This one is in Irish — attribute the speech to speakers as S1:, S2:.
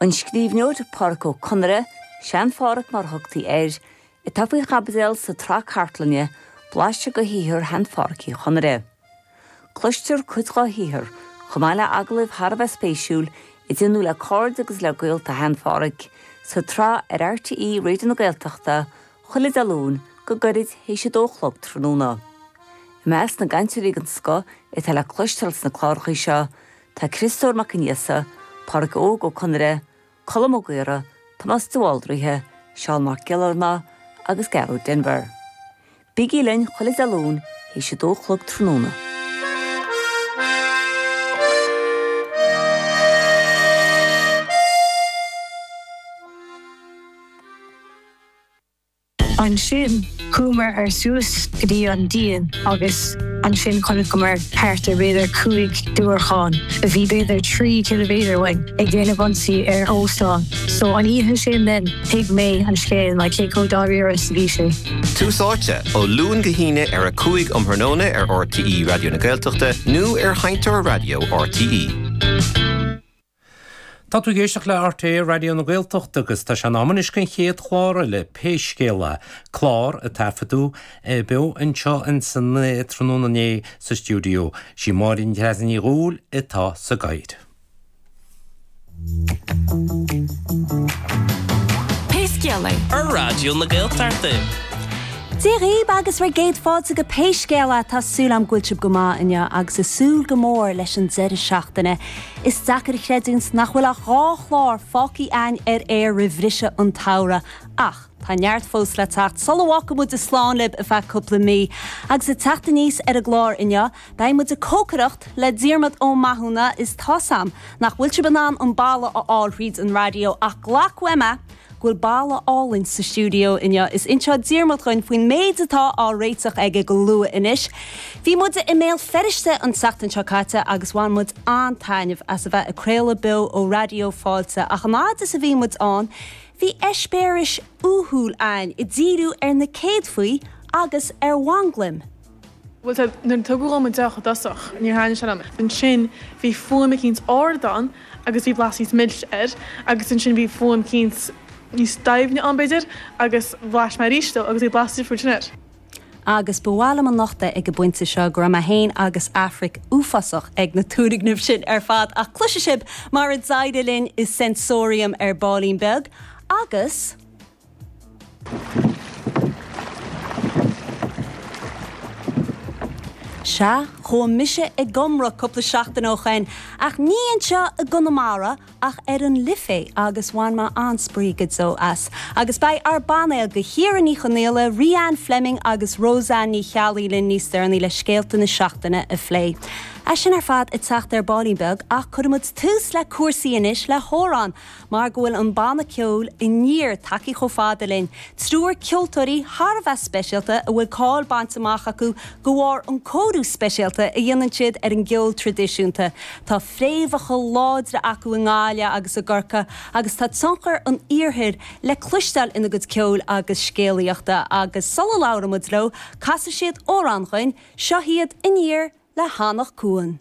S1: An scríbhneoir Pádraic Ó Conaire, Sean-Phádhraic mar a thugtaí air, atá faoi chaibidil sa tsraith cartlainne, blaiseadh de shaothar shean-Phádhraic Uí Chonaire. Cloistear cuid dhá shaothar, chomh maith le agallaimh thar a bheith spéisiúil a déanadh le cairde agus le gaolta shean-Phádhraic, sa tsraith ar RTÉ Raidió na Gaeltachta chuile Dé Luain go gairid théis a dó a chlog tráthnóna. I measc na gcainteoirí den scoth atá le cloisteáil sna clárachaí seo tá Criostóir Mac Aonghusa, Pádraic Óg Ó Conaire, Colm Ó Gaora, Tomás de Bhaldraithe, Seán Mac Giollarnáth agus Gearóid Denvir. Bígí linn chuile Dé Luain théis a dó a chlog tráthnóna.
S2: Ansin chuamar ar suas go dtí an díon agus ansin chonaiceamar thart ar b'fhéidir 5 diúracán a bhí b'fhéidir 3 ciliméadar uainn ag déanamh ionsaí ar óstán. So an oíche sin then thuig mé an scéal like cé chomh dáiríre is a bhí sé.
S3: Tús Áite, ó Luan go hAoine ar 5 um thráthnóna ar RTÉ Raidió na Gaeltachta nó ar Sheinnteoir Raidió RTÉ.
S4: Tá tú ag éisteacht le RTÉ Raidió na Gaeltachta agus tá sé in am anois don chéad chlár eile, Pé Scéal É, clár a taifeadadh beo anseo insan tráthnóna inné sa stiúideo. Sí Máire Treasa Ní Dhubhghaill atá sa gcathaoir.
S5: Pé Scéal É.
S6: Ar Raidió na Gaeltachta.
S7: Dia dhaoib agus bhur gcéad fáilte go Pé Scéal É. Tá súil agam go bhfuil sibh go maith inniu agus ag súil go mór leis an deireadh seachtaine. Is deacair a chreidiúint nach bhfuil ach 2 chlár fágtha againn ar aer roimh bhriseadh an tsamhraidh ach tá neart fós le teacht sula bhfágfaidh muid slán libh ar feadh cúpla mí. Agus ag teacht aníos ar an gclár inniu, beidh muid ag cócaireacht le Diarmuid Ó Mathúna is tá's a'm nach bhfuil sibh in ann an boladh a fháil thríd an raidió ach glac uaim é go bhfuil boladh álainn sa stiúideo inniu. Is inseoidh Diarmuid dhuinn faoin méid atá á réiteach aige go luath anois. Bhí muide i mBéal Feirste an tseachtain seo caite agus bhain muid an-taitneamh as a bheith ag craoladh beo ó Raidió Fáilte ach an fhad is a bhí muid ann bhí eispéiris uathúil againn ag díriú ar na céadfaí agus ar mhanglaim.
S8: Bhuel, tá, nuair a tugadh dhom an deoch i dtosach, níor thaitnigh sé liom. Ansin bhí fuaim eicínt ard ann agus bhí blas níos milse air agus ansin bhí fuaim eicínt níos doimhne ann, b'fhéidir, agus bhlais mé arís dó agus bhí blas difriúil sin air.
S7: Agus ba mhaith liom a nochtadh ag an bpointe seo go raibh mé féin agus Aifric uafásach ag na turgnaimh sin ar fad ach cloisfidh sibh mar a d'éirigh linn i Sensorium ar baillín beag agus. Sea, chuaigh mise ag iomramh cúpla seachtain ó shoin, ach ní anseo i gConamara ach ar an Life agus bhain mé an-spraoi go deo as. Agus beidh ár bpainéal de Chiara Ní Chonaola, Ríanne Fleming agus Roseanne Ní Cheallaigh linn níos deireanaí le scéalta na seachtaine a phlé. É sin ar fad ag teacht ar baillín beag ach cuirfidh muid tús le cúrsaí anois le hamhrán Mar go bhfuil an banna ceoil Aniar tagtha chomh fada linn, triúr ceoltóirí thar a bheith speisialta a bhfuil cáil bainte amach acu de bharr an cóiriú speisialta a dhéanann siad ar an gceol traidisiúnta. Tá fréamhacha láidre acu i nGaillimh agus i gCorcaigh agus tá tionchar an iarthair le cloisteáil ina gcuid ceoil agus scéalaíochta agus sula labhraíonn muid leo, casfaidh siad amhrán dhuinn, seo iad Aniar le hAnach Cuain.